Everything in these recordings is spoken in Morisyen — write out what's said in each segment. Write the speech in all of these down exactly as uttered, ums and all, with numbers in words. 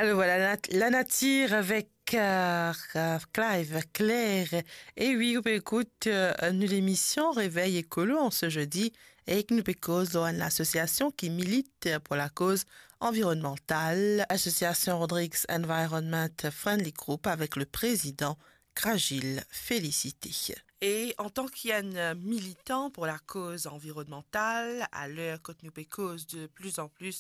Alors voilà, la, la nature avec euh, Clive Claire. Et oui, vous pouvez écouter euh, nous l'émission Réveil Écolo en ce jeudi. Et que nous pécose l'association qui milite pour la cause environnementale, Association Rodrigues Environment Friendly Group, avec le président Krajil Félicité. E antan ki enn militan pou lakoz anvironmantal, aler kot nou pe koz de pli an pli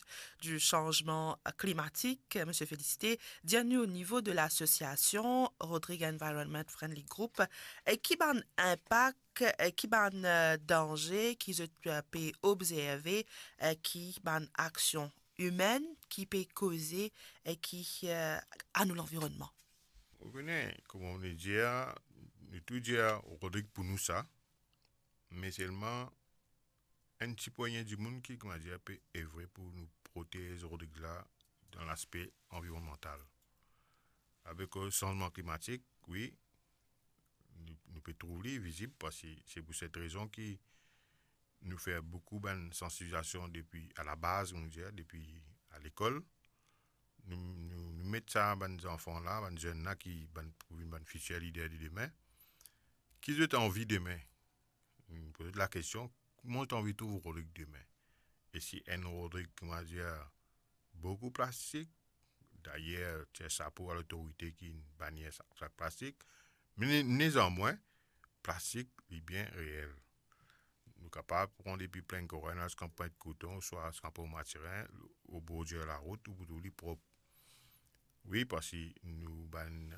di sanzman klimatik, Misie Félicité, dir nou o nivo de lasosiasion Rodrigues Environment Friendly Group, e ki bann inpak, e ki bann, eh, danze ki zot, eh, pe obzerve, e ki bann aksion imenn ki pe koze, e ki, eh, a nou lanvironnman? Ou kone, kouma nou dir, nou tou dir Rodrig pou nou sa, me selman enn ti poigne dimoun ki, kouma dir, pe evre pou nou protez Rodrig la dan laspe anvironmantal. Avek, eh, sanzman klimatik, wi, nou, nou pe trouv li vizib, parski se pou set rezon ki nou fer boukou bann sansibilizasion depi a la baz, nou dir, depi a lekol. Nou, nou, nou met sa bann zanfan la, bann zenn la ki bann, pou vinn bann fitir lider de demin, ki zot anvi demin. Nou poz zot lakestion, kouma zot anvi trouv Rodrig demin? E si enn Rodrig, kouma dir, boukou plastik, dayer, tir sapo a lotorite ki bannir sa, sak plastik, me ne, nezanmwin, plastik, li bien reel. Nou kapav pran depi Plinn Korin, ziska Pwint Koton, swa ziska Pon Matirin, o bordir larout, ou pou trouv li prop. Wi, parski nou bann,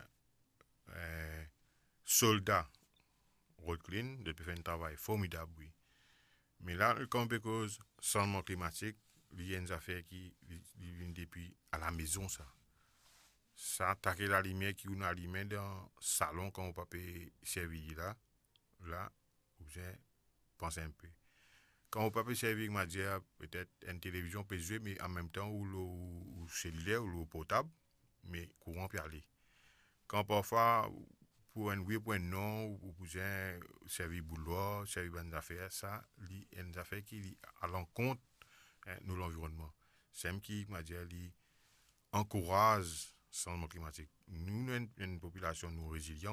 eh, solda Rod Clean, zot pe fer enn travay formidab, wi. Me la, kan nou pe koz sanzman klimatik, li enn zafer ki, li, li vinn depi a lamezon, sa. Sa, take lalimier ki ou'nn alime dan salon kan ou pa pe servi li la, la, ou bizin panse enpe. Kan ou pa pe servi, kouma dir, petet enn televizion pe zwe, me anmemtan ou lor ou, ou seliler, ou lor portab, me kouran pe ale. Kan parfwa, pou enn wi, pou enn non, ou bizin servi boudoir, servi bann zafer, sa, li enn zafer ki li a lankont, eh, nou lanvironnman. Samem ki, kouma dir, li ankouraz sanzman klimatik. Nou, nou enn, enn popilasion, nou rezilian,